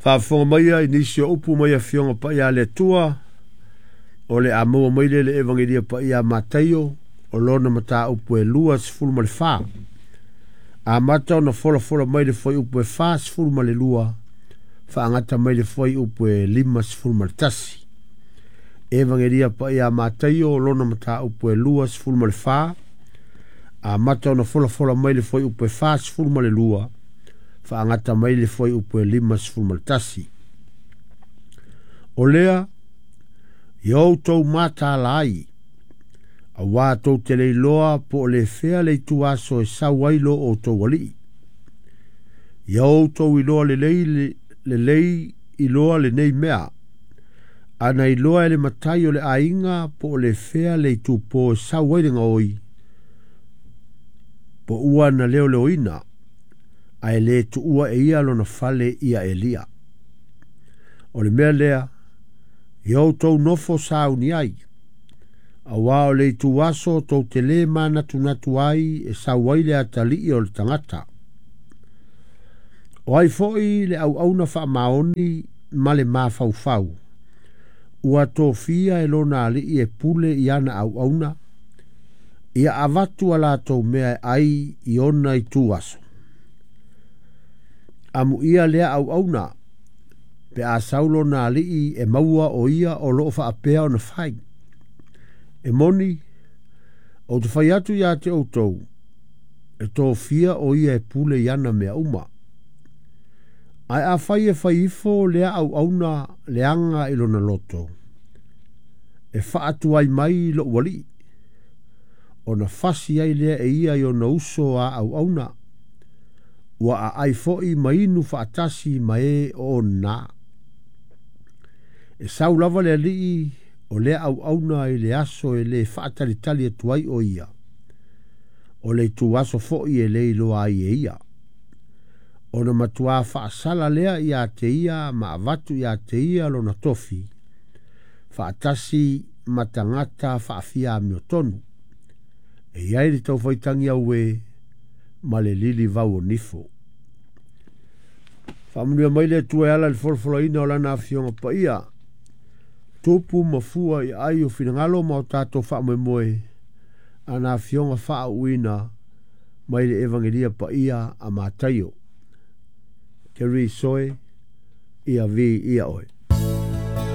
Faafofoga maia i nisi o upu mai Afioga Paia a le Atua, o le a maua mai lea i le Evagelia Paia a Mataio, o lona mataupu e 24. Amata ona folafola mai le fuaiupu e 42, faagata mai le fuaiupu e 51. Evagelia Paia a Mataio, o lona mataupu e 24, amata ona folafola mai le fuaiupu e 42, faagata mai le fuaiupu e 51. O lea, ia outou mataala ai, auā tou te le iloa po o le fea le ituaso e sau ai lo outou alii. Ia outou iloa lelei, lelei iloa lenei mea, ana iloa e le matai o le aiga po o le fea le itupo e sau ai le gaoi, po ua na leoleoina, ae le tuua e ia lona fale ia elia. O le mea lea, ia outou nofo sauni ai, auā o le ituaso tou te lē manatunatu ai e sau ai le atalii o le tagata. O ai foi le auauna faamaoni ma le mafaufau, ua tofia e lona alii e pule i ana auauna, ia avatu a latou mea e ai i ona ituaso. Amuia lea auauna, pe a sau lona alii e maua o ia o loo faapea ona fai. E moni, ou te fai atu iā te outou, e tofia o ia e pule i ana mea uma. Ae afai e fai ifo lea auauna leaga i lona loto, e faatuai mai lou alii, ona fasi ai lea e ia i ona uso a auauna, ua aai foi ma inu faatasi ma e o ona. E sau lava le alii o lea auauna i le aso e lē faatalitali atu ai o ia, o le ituaso foi e le iloa ai e ia. Ona matuā faasala lea iā te ia ma avatu iā te ia lona tofi, faatasi ma tagata faafia amiotonu, e i ai le taufaitagi auē ma le lilivau o nifo. Faamanuia mai le Atua e ala i le folafolaina o Lana Afioga Paia, tupu ma fua i aai o finagalo ma o tatou faamoemoe, ana Afioga faauuina mai le Evagelia Paia a Mataio. Terry Soe, ia viia oe.